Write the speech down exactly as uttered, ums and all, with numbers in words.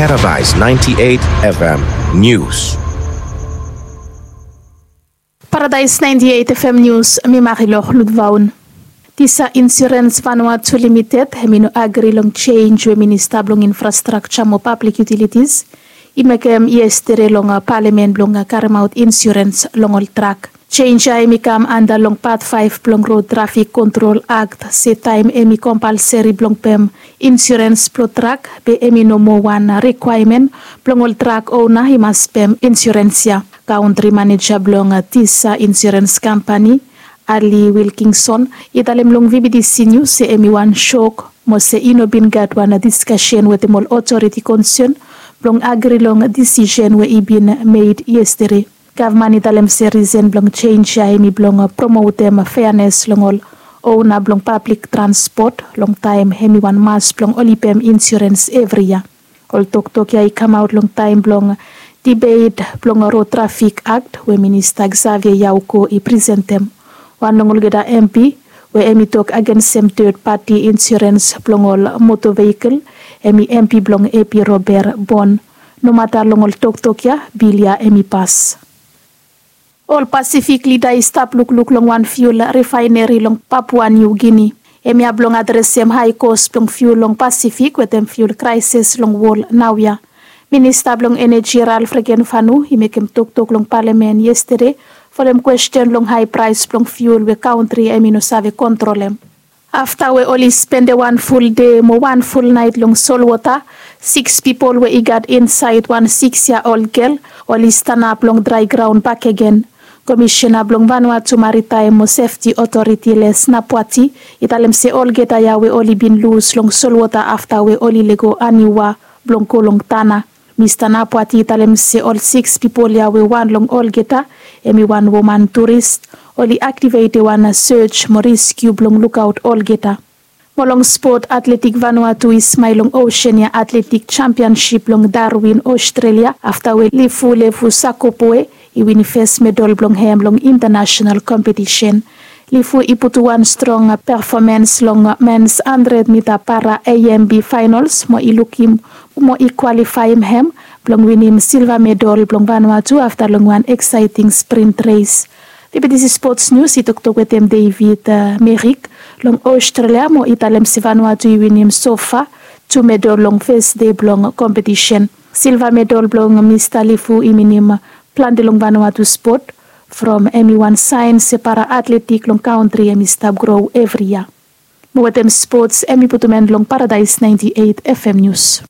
Paradise ninety-eight F M News. Paradise ninety-eight F M News, mi Marilor Ludvaun. Tisa Insurance Vanuatu Limited hemi no agri long change we Minista blong Infrastructure mo Public Utilities i mekem yestede long palamen blong karemaot insurance long ol trak. Change ya hemi kam anda long pat faef blong Road Traffic Control Act se taem hemi kompalseri blong pem insurance blong trak be hemi no moa wan rikwaemen blong ol trak ona i mas pem insurance ya. Kaontri maneja blong Tisa Insurance Kampani, Ali Wilkinson, i talem long V B T C News se hemi wan sok mo se i no bin gat wan diskasen wetem ol otoriti konsen blong agri long disisen we i bin med yestede. Gavman i talem se risen blong change ya hemi blong promotem feanes long ol ona blong pablik transpot long taem hemi wan mas blong oli pem insurance evri yia. Ol toktok ya i kamaot long taem blong debate blong Road Traffic Act we Minista Xavier Yauko i presentem. Wan long olgeta M P we hemi tok agensem third party insurance blong ol motor vehicle hemi M P blong A P Robert Bon. Nomata long ol toktok ya, bil ya hemi pas. Ol Pasifik lida i stap lukluk long wan fiul rifaeneri long Papua New Guinea. Hemia blong adresem hae kos blong fiul long Pasifik wetem fiul kraesis long wol naoia. Minista blong Eneji Ralph Regenvanu i mekem toktok long palamen yestede folem kwesten long hae praes blong fiul we kaontri hemi no save kontrolem. Afta we oli spendem wan ful dei mo wan ful naet long solwota, siks pipol we i gat insaed wan siks yia ol gel oli stanap long drae graon bakegen. Komisena blong Vanuatu Maritaem mo Sefti Otoriti Les Napuati i talem se olgeta ya we oli bin lus long solwota afta we oli lego aniwa blong go long tana. Mista Napuati i talem se ol siks pipol ya we wan long olgeta hemi wan woman turis, oli aktivetem wan sej mo reskiu blong lukaot olgeta. Mo long spot, Atletik Vanuatu i smael long Oseania Atletik Jampiansip long Darwin, Ostrelia afta we Lifu Lefu Sakopue i winim fes medal blong hem long intanasenal kompetisen. Lifu i putum wan strong pefomans long mens handred mita para A M B faenols mo i lukim mo i kwalifaem hem blong winim silva medal blong Vanuatu afta long wan eksaeting sprint res. V B T C Sports News i toktok wetem David Merik. Long Ostrelia mo i talem se Vanuatu i winim sofa tu medal long fes dei blong kompetisen. Silva medal blong Mista Lifu i minim plante long Vanuatu spot from hemi wan saen se para atletik long kaontri hemi stap gro evri yia. Mo wetem spots hemi putum en long Paradise ninety-eight F M News.